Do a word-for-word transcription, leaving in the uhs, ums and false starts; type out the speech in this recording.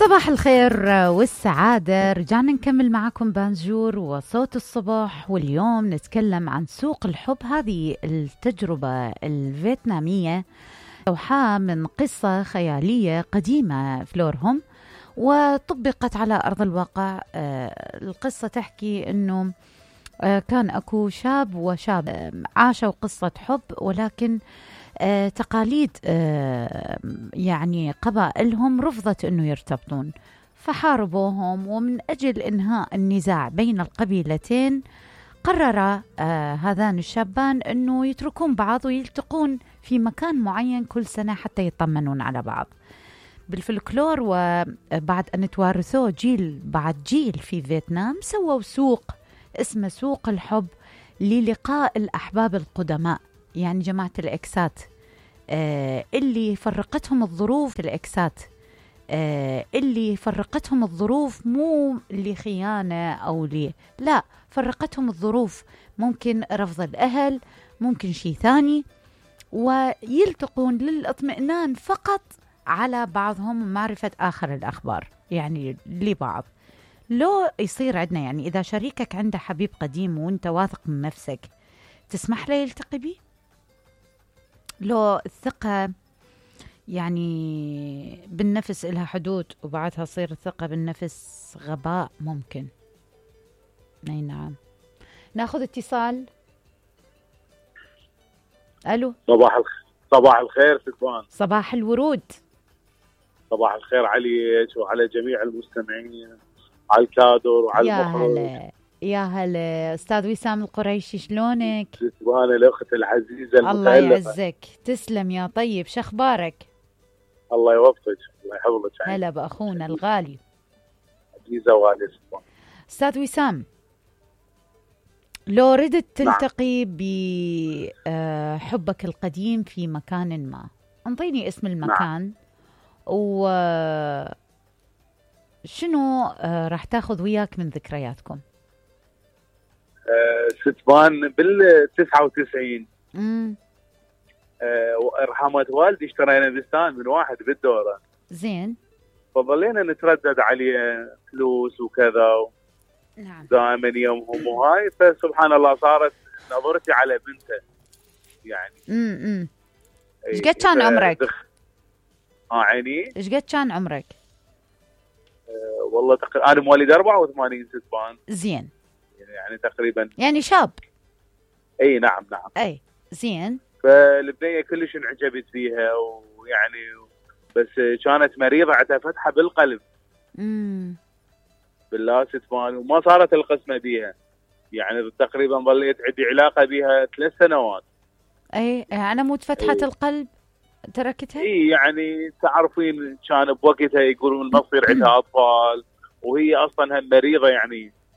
صباح الخير والسعادة، رجعنا نكمل معكم بانجور وصوت الصبح، واليوم نتكلم عن سوق الحب. هذه التجربة الفيتنامية أوحى من قصة خيالية قديمة فلورهم وطبقت على أرض الواقع. القصة تحكي أنه كان أكو شاب وشاب عاشوا قصة حب، ولكن آه تقاليد آه يعني قبائلهم رفضت أنه يرتبطون، فحاربوهم. ومن أجل إنهاء النزاع بين القبيلتين قرر آه هذان الشابان أنه يتركون بعض ويلتقون في مكان معين كل سنة حتى يطمنون على بعض. بالفلكلور وبعد أن توارثوه جيل بعد جيل في فيتنام، سووا سوق اسمه سوق الحب للقاء الأحباب القدماء، يعني جماعة الإكسات آه اللي فرقتهم الظروف. الإكسات آه اللي فرقتهم الظروف، مو اللي خيانة أو لي لا، فرقتهم الظروف، ممكن رفض الأهل، ممكن شيء ثاني، ويلتقون للإطمئنان فقط على بعضهم ومعرفة آخر الأخبار يعني لبعض. لو يصير عندنا يعني إذا شريكك عنده حبيب قديم وانت واثق من نفسك، تسمح له يلتقي بيه؟ لو الثقة يعني بالنفس إلها حدود، وبعدها تصير الثقة بالنفس غباء ممكن. أي نعم. ناخذ اتصال. ألو. صباح الخير. صباح الخير ستوان. صباح الورود. صباح الخير عليك وعلى جميع المستمعين، على الكادر وعلى المخرج. يا هلا يا هلا أستاذ وسام القريشي، شلونك؟ ستوان الأخت العزيزة المتألقة. الله يعزك، تسلم يا طيب، شخبارك؟ الله يوفقك، الله يحفظك. هلا بأخونا الغالي. عزيزة وغالية ستوان. أستاذ وسام، لو ردت تلتقي نعم. بحبك القديم في مكان ما، انطيني اسم المكان. نعم. وشنو راح تاخذ وياك من ذكرياتكم؟ أه ستوان بالتسعة وتسعين امم أه رحمة والدي اشترينا بستان من واحد بالدورة. زين. فظلينا نتردد عليه فلوس وكذا. نعم. دائما يومهم وهاي، فسبحان الله صارت نظرتي على بنته يعني. امم ايش قد كان عمرك؟ اه عيني. ايش قد كان عمرك؟ أه والله تقريبا انا مواليد أربعة وثمانين ستوان. زين. يعني تقريبا يعني شاب. اي نعم نعم. اي زين. فالبنيه كلش انعجبت فيها، ويعني بس كانت مريضه، عندها فتحه بالقلب. امم بالله ستوان، وما صارت القسمه بيها، يعني تقريبا ظليت عندي علاقه بها ثلاث سنوات. اي على مود فتحه أي. القلب تركتها؟ اي يعني تعرفين كان بوقتها يقولون ما تصير عندها اطفال، وهي اصلا هم مريضه يعني